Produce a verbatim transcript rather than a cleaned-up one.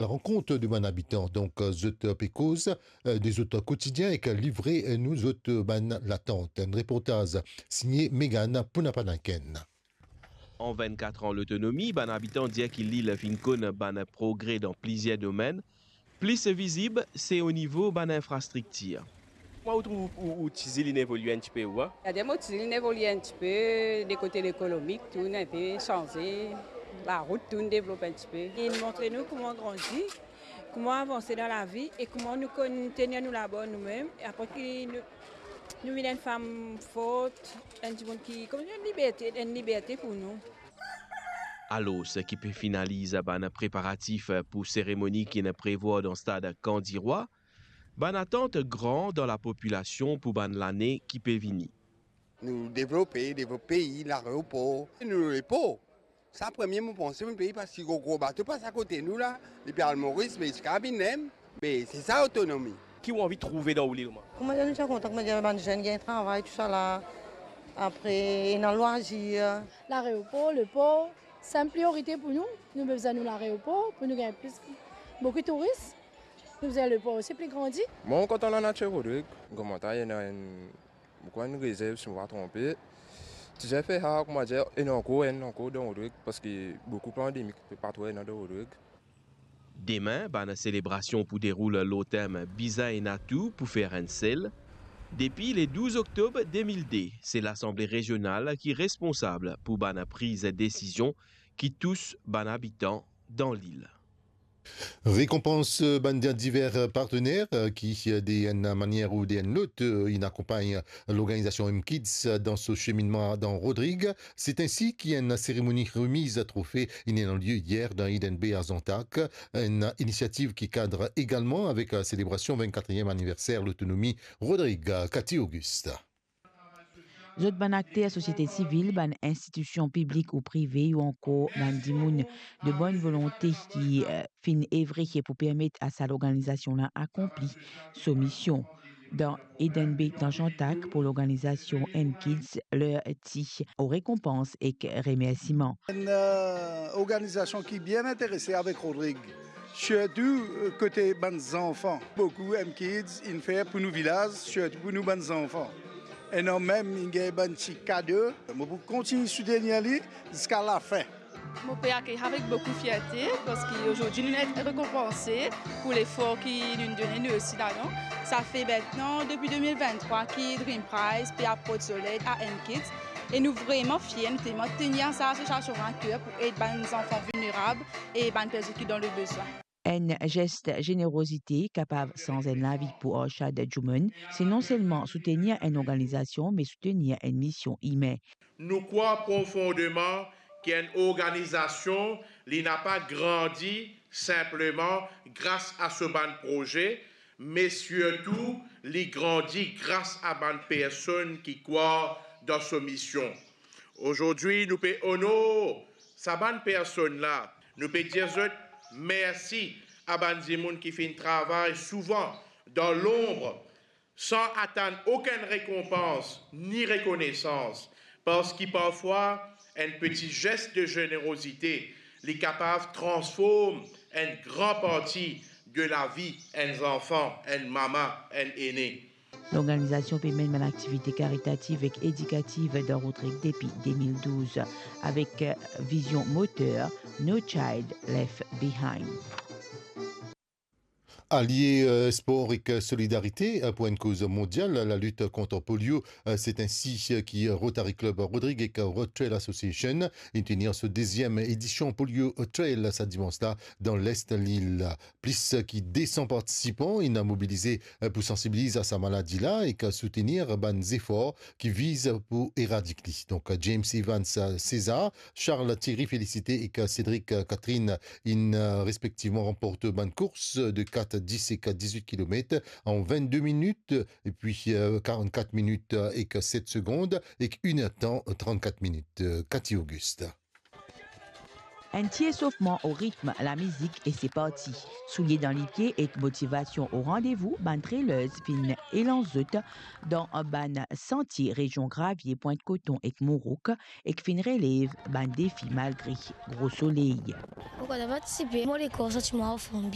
la rankont de bann abitan. Donk, zot pe koz, eh, de zot kotidien ek livre nou zot bann latant. Enn reportaz signe Megan Pounapanaken. An vennkat an lotonomi, bann abitan dir ki lil finn konn bann progre dan plizier domenn. Plis vizib, se o nivo bann infrastriktir. Kouma ou trouv ou, ou ti zil inn evolie enn tipe, ou, a? Gade, mo ti zil inn evolie enn tipe, de kote lekonomik, tou inn inpe sanze, larout, tou inn devlope enn tipe. Li montre nou kouma grandi, kouma avanse dan lavi e kouma nou konn tenir nou labor noumem. E apre ki nou, nou vinn enn fam fort, enn dimoun ki, kouma enn liberte, enn liberte pou nou. Alor, ki pe finaliz bann preparatif pou seremoni ki inn prevwar dan stad Kan Dirwa, bann atant gran dan lapopilasion pou bann lane ki pe vini. Nou devlope, devlop pei, laeropor, nou lepor. Sa premie mo panse, mo pei, parski gro, gro bato pas akote nou la, depi al Moris, me ziska vinn mem, me se sa otonomi. Ki ou anvi trouve dan ou lil, mwa? Kouma dir, nou ti kontan, kouma dir, bann zenn gagn travay, tousala. Apre, ena lwazir. Laeropor, lepor, se enn priorite pou nou. Nou bizin nou laeropor pou nou gagn plis, boukou touris. Nou bizin lepor osi pli grandi. Mwa, mo kontan lanatir Rodrig. Kouma dir, ena enn, boukou enn rezerv, si mo pa tronpe. Ti zis fer sa, kouma dir, ena ankor, ena ankor dan Rodrig, parski boukou pandemik, pe pa tro ena dan Rodrig. Demin, bann selebrasion pou deroul lor tem Bizin ena tou pou fer enn sel. Depi le douz oktob de mil de, se Lasanble Rezional ki responsab pou bann priz desizion ki tous bann abitan dan lil. Rekonpans, eh, bann diver, eh, partener, eh, ki, eh, de enn manier ou de enn lot, eh, inn akonpagn lorganizasion M Kids dan so seminnman dan Rodrig. Se ensi ki enn seremoni remiz trofe inn ena lie yer dan Eden Bay a Zantak. Enn inisiativ ki kad egalman avek, eh, selebrasion vennkatriem aniverser lotonomi Rodrig. Cathy Auguste. Zot bann akter sosiete sivil, bann institision piblik ou prive, ou ankor bann dimoun de bonn volonte ki, eh, finn evre pou permet a sa lorganizasion la akonpli so mision. Dan Eden Bay dan Zantak pou lorganizasion M Kids, ler ti o rekonpans ek remersiman. Enn, eh, organizasion ki bien interese avek Rodrig. Sirtou, eh, kote bann zanfan. Boukou M Kids inn fer pou nou vilaz, sirtou pou nou bann zanfan. Ena mem inn gagn bann ti kado. Mo pou kontign soutenir li ziska lafin. Mo pe akeyir avek boukou fierte, parski azordi nou inn rekonpanse pou lefor ki nou'nn done nou osi ladan. Sa fer mintnan, depi de mil venntrwa, ki Dream Prize pe aport so led a M Kids. E nou vreman fier, nou telman tenir sa asosiasion a ker pou ed bann zanfan vilnerab e bann personn ki dan lebezwin. Enn zes zenerozite kapav sanz enn lavi pou Arshad Juman, se non selman soutenir enn organizasion, me soutenir enn mision imin. Nou krwar profondeman ki enn organizasion, li napa grandi sinpleman gras a so bann proze, me sirtou li grandi gras a bann personn ki krwar dan so mision. Azordi, nou pe onor sa bann personn la. Nou pe dir zot mersi a bann dimoun ki finn travay souvan dan lonb, san atann okenn rekonpans ni rekonesans, parski parfwa enn peti zes de zenerozite, li kapav transform enn gran parti de lavi enn zanfan, enn mama, enn ene. Lorganizasion pe menn bann aktivite karitativ ek edikativ dan Rodrig depi de mil douz, avek vizion moter No Child Left Behind. Alie, eh, spor ek solidarite, eh, pou enn koz mondial, lalit kont polio, eh, se ensi, eh, ki Rotary Club Rodrig ek Road Trail Association inn tenir so deziem edision Polio Trail sa dimans la dan lest lil. Plis ki de san partisipan inn mobilize, eh, pou sansibiliz a sa maladi la ek soutenir bann zefor ki viz pou eradik li. Donk, James Evans, eh, César, Charles Thierry Félicité ek Cédric Catherine inn, eh, respektivman ranport bann kours de kat, dis ek dizuit kilomet an vennde minit, epi, eh, karannkat minit, eh, ek set segond, ek inertan, trannkat minit. Eh, Cathy Auguste. Enn ti esofman o ritm lamizik e se parti. Soulie dan lipie ek motivasion o randevou, bann trailers finn elans zot dan bann santie rezion Gravie, Pwint Koton ek Mourouk, ek finn relev bann defi malgre gro soley. Mo kontan partisipe, mo lekor santi mwa anform bien.